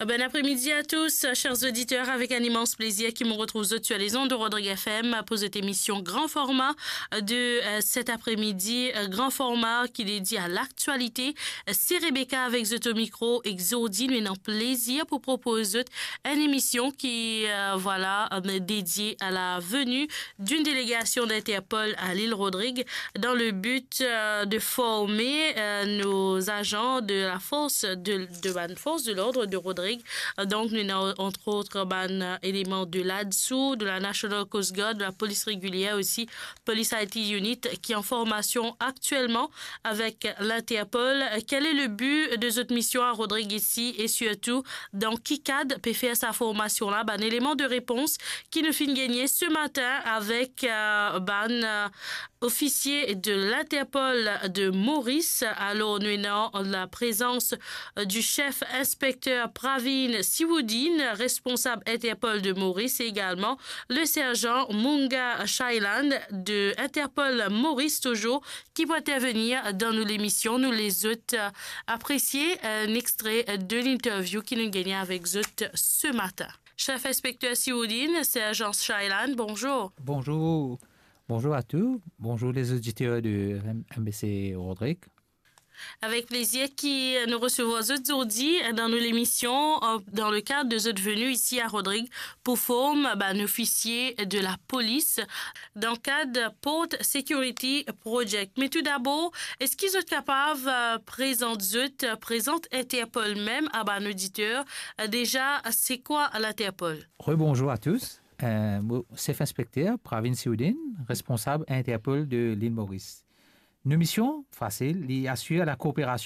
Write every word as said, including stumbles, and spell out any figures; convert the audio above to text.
Bon après-midi à tous, chers auditeurs. Avec un immense plaisir ki mo retrouv zot sur les ondes de Rodrigue F M pour cette émission grand format de, euh, cet après-midi. Euh, grand format qui est dédié à l'actualité. Euh, c'est Rebecca avec zot au micro. Ek zordi, nou ena plezir pou propoz zot enn emisyon ki, euh, voilà, euh, dédié à la venue d'une délégation d'Interpol à l'île Rodrigue dans le but, euh, de former, euh, nos agents de la force de, de bann forces de l'ordre de Rodrigue. Euh, donc, nou ena, entre autres, bann, euh, éléments de l'ADSOO, de la National Coast Guard, de la police régulière aussi, Police I T Unit, qui est en formation actuellement avec l'Interpol. Quel est le but de zot mission à Rodrigue ici et surtout, dans ki kad pe fer sa formation-là? Bann éléments de réponse ki nou finn gagne ce matin avec, euh, bann, euh, officier de l'Interpol de Maurice. Alors, nou ena la présence, euh, du chef inspecteur Pravin Siwoodin, responsable Interpol de Maurice, et également le sergent Munga Shailan de Interpol Maurice toujours, qui va intervenir dans nos émissions. Nou les zot, euh, apprécier un extrait de l'interview ki nou gagne avec zot ce matin. Chef inspecteur Siwoodin, sergent Shailan, bonjour. Bonjour. Bonjour à tous. Bonjour les auditeurs de M B C Rodrigue. Avec plaisir ki nou resevwa zot zordi dan nou lemisyon, euh, dans le cadre de zot venue ici à Rodrigue pour former bann officier de la police dans le cadre Port Security Project. Mais tout d'abord, est-ce que zot kapav, euh, prezant zot, euh, prezant Interpol mem à bann auditeur, euh, déjà, c'est quoi l'Interpol? Rebonjour à tous. Euh, mo, chef inspecteur Pravin Siwoodin, responsable Interpol de l'île Maurice. Nou mision, fasil, li asir la kooperasion